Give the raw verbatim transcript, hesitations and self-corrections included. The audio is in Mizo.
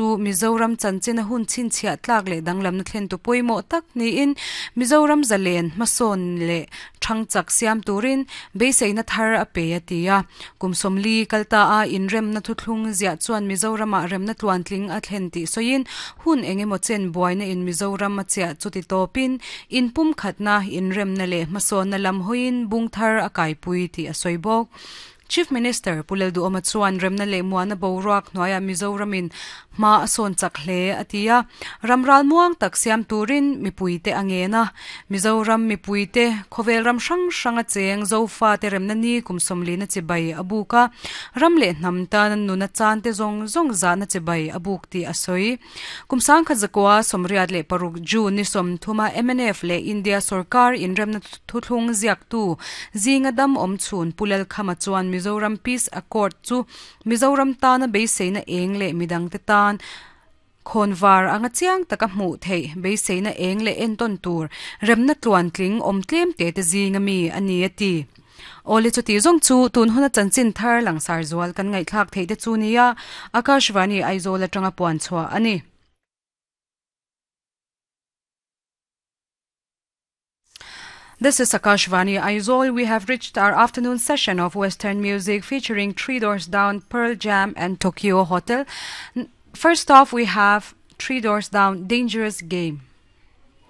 chu Mizoram chanchina hun chhinchhiah tlak leh danglamna thlen tu pawimawh tak niin Mizoram zalen hmasawn leh thangchak siam turin beiseina thar a pe a ti a kum sawmli kalta a inremna thuthlung ziah chuan Mizorama remna tluantling a thlen tih sawiin hun engemaw chen buaina in Mizoram a chiah chuti tawpin inpum khatna inremna leh hmasawnna lam hawiin bung thar a kaipui tih a sawi bawk. Chief Minister Pu Lalduhoma chuan remna leh muana boruak hnuaia Mizoramin hma a sawn chak hle a ti a ramral muang tak siam turin mipuite a ngen a Mizoram mipuite khawvel ram hrang hrang a cheng zofa te remna ni kum sawmli na chibai a buk a ram leh hnam tan nuna chan te zawng zawng zahna chibai a buk tih a sawi kum sangkhat zakua sawmriat leh paruk June ni sawm thuma M N F leh India sarkar inremna thuthlung ziak tu zinga dam awm chhun Pu Lalkhama chuan Mizoram Peace Accord chu Mizoram tana beiseina eng leh midang te tan khonvar anga chiang taka hmuh theih beiseina eng leh entawn tur remna tluantling awm tlem te te zinga mi ani a ti. Awle chu ti zawng chu tun huna chanchin thar langsar zual kan ngaihthlak theih te chu nia Akashvani Aizawl atanga puan chhuah ani. This is Akashvani Aizawl. We have reached our afternoon session of Western music featuring Three Doors Down, Pearl Jam and Tokyo Hotel. First off, we have Three Doors Down, Dangerous Game.